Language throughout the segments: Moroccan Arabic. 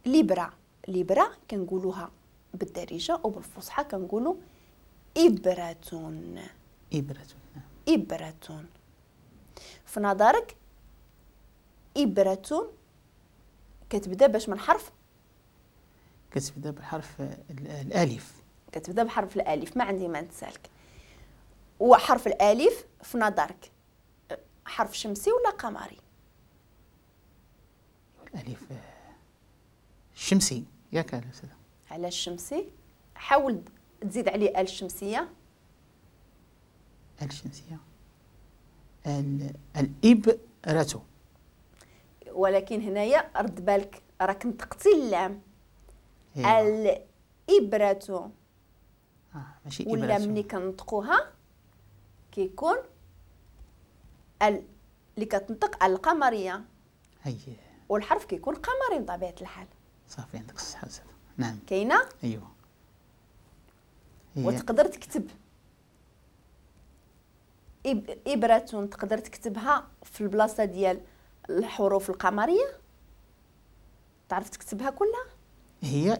لبرة. لبرة كنقولوها بالدارجة وبالفصحى كنقولوا إبرة. إبرة. إبرة. في نظرك إبرة كتبدا باش من حرف؟ كتبدا بحرف الألف. كتبدا بحرف الألف، ما عندي ما نتسالك. وحرف الألف في نظرك حرف شمسي ولا قمري؟ الألف شمسي ياك الأستاذة؟ علاش الشمسي؟ حاول تزيد عليه ال الشمسية. ال الشمسية الإبرة. ولكن هنايا رد بالك راك نطقتي اللام. الإبرة ماشي إبرة. ولا ملي كنطقوها كيكون اللي كتنطق القمرية. والحرف كيكون قمري بطبيعة الحال. صافي عندك الصحة أستاذة. نعم كاينة؟ أيوه. وتقدر تكتب إبرة، تقدر تكتبها في البلاصة ديال الحروف القمرية، تعرف تكتبها كلها؟ هي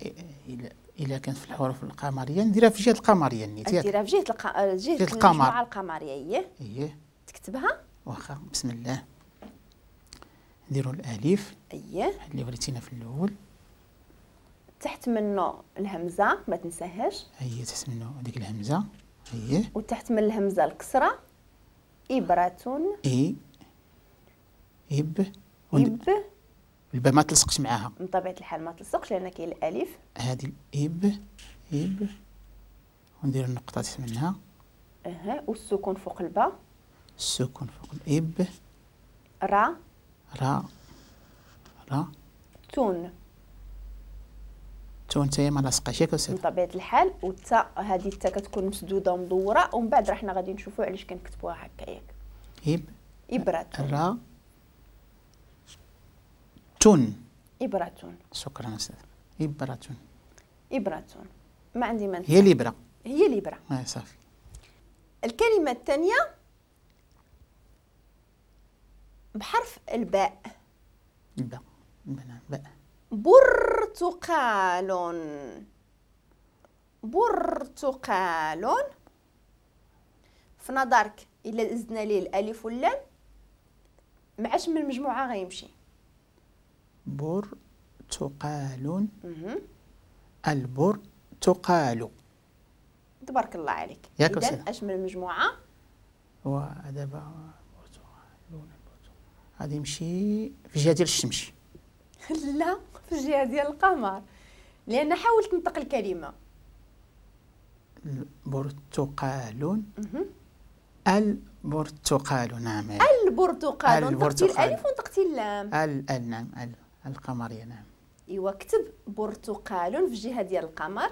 إلا كانت في الحروف القمرية نديرها في جهة القمرية. نديرها في جهة جهة المجموعة القمرية. إيه تكتبها؟ واخا بسم الله. نديرو الألف. اللي وريتينا في الأول. تحت منه الهمزة ما تنساهاش. هي تحت منه هذيك الهمزة. وتحت من الهمزة الكسرة. إبرة. إي إب. إب. الباء ما تلصقش معاها. من طبيعة الحال ما تلصقش لأن كاين الألف. هذه الإب إب وندير النقطة تحت منها. والسكون فوق الباء. السكون فوق الإب. را. را. را. تون. تون حتى هي ما لاصقاش ياك أستاذ؟ من طبيعة الحال. والتاء هذه التاء كتكون مسدودة ومدورة، ومن بعد راه حنا غادي نشوفوا علاش كنكتبوها هكا ياك. إب. إبرة. را. تون. إبرة. شكرا أستاذ. إبرة. إبرة. ما عندي ما هي الإبرة. هي الإبرة. صافي. الكلمة الثانية بحرف الباء. الباء. نعم باء. برتقال. برتقال. في نظرك إلا زدنا ليه الألف واللام معاش من المجموعة غيمشي؟ برتقال. البرتقال. تبارك الله عليك. إذا اش من المجموعة؟ ودابا برتقال غادي يمشي في الجهة ديال الشمس. لا، في الجهة ديال القمر، لأن حاول تنطق الكلمة. برتقال. البرتقال. نعم البرتقال. نطقتي الألف ونطقتي اللام. ال نعم ال القمرية. نعم. إيوا كتب برتقال في الجهة ديال القمر.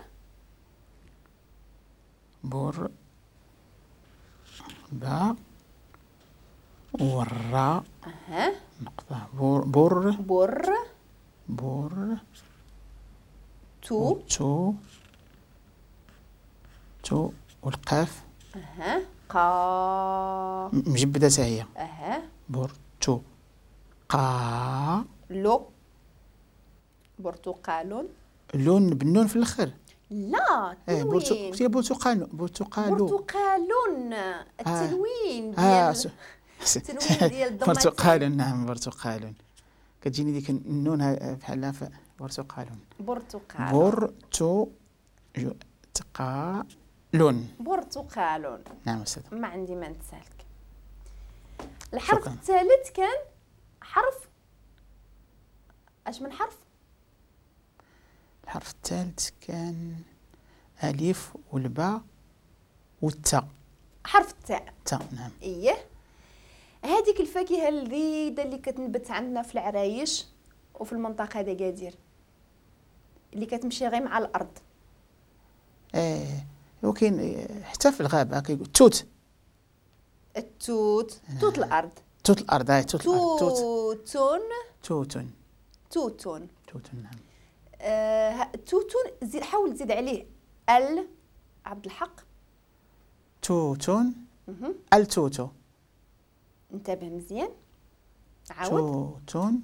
بر با والراء. نقطة. بر بر بر بر تو تو تو والقاف. قا مجبدة حتى هي. بر تو قا لو. برتقال. لون بالنون في الاخر. لا تنوين. برتقال. برتقال. برتقال. التنوين ديال التنوين ديال الضمتين. برتقال. نعم برتقال. كتجيني ديك النون بحال برتقال. برتقال. برتو تقالون. برتقال. نعم أستاذ. ما عندي ما نتسالك. الحرف الثالث كان حرف اش من حرف؟ الحرف الثالث كان ألف والباء والتاء. حرف التاء. التاء نعم. إيه هذيك الفاكهة اللذيذة اللي كتنبت عندنا في العرايش وفي المنطقة ديال اللي كتمشي غير مع الأرض. ايه وكاين حتى في الغابة كيقول التوت. التوت. توت الأرض. توت الأرض. توت الأرض. توت. توت. توت. توت. نعم. توتون زيد، حاول تزيد عليه ال عبد الحق. توتون. التوتو. انتبه مزيان. عاود. توتون.